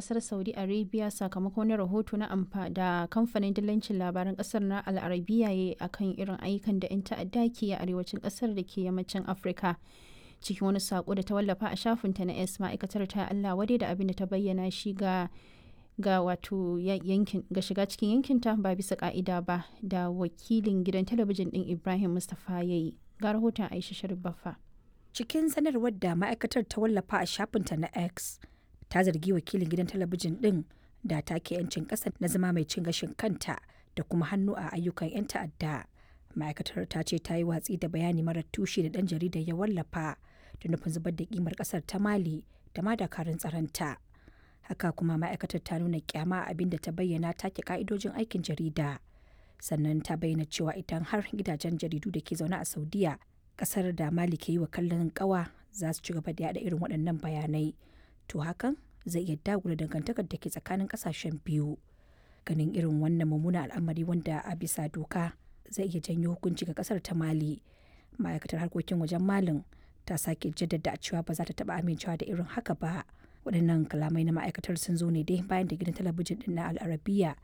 kasar Saudi Arabia sakamakon wani rahoto na amfa da kamfanin dillancin labaran kasar na Al Arabiya ya akan irin ayyukan da 'yan ta'adda ke a arewacin kasar da ke yammacin Afirka. Cikin wani sako da ta wallafa a shafinta na S, ma'aikatar ta Allah wadai da abin da ta bayyana shi ga wato yankin ga shiga cikin yankinta ba bisa ka'ida ba da wakilin gidan talabijin din Ibrahim Mustapha yayi. Ga rahoton Aisha Sharif Baffa. Cikin sanarwar da ma'aikatar ta wallafa a shafinta na X, ta zargi wakilin gidan talabijin din da take 'yancin ƙasa na zama mai cin gashin kanta da kuma hannu a ayyukan 'yan ta'adda. Ma'aikatar ta ce ta yi watsi da bayani marar tushe da ɗan jaridar ya wallafa da nufin zubar da kimar ƙasar ta Mali da ma dakarun tsaronta. Haka kuma ma'aikatar ta nuna kyama a abin da ta bayyana take ka'idojin aikin jarida. Sannan ta bayyana cewa idan har gidajen jaridu da ke zaune a Saudiya, kasar da Mali ke yi wa kallon kawa, za su ci gaba da yada irin waɗannan bayanai, to hakan zai iya dagula dangantakar da ke tsakanin kasashen biyu. Ganin irin wannan mummunan al'amari wanda a bisa doka zai iya janyo hukunci ga kasar ta Mali, ma'aikatar harkokin wajen Malin ta sake jaddada cewa ba za ta taba amincewa da irin haka ba. Waɗannan kalamai na ma'aikatar sun zo ne dai bayan da gidan talabijin din na Al'arabiya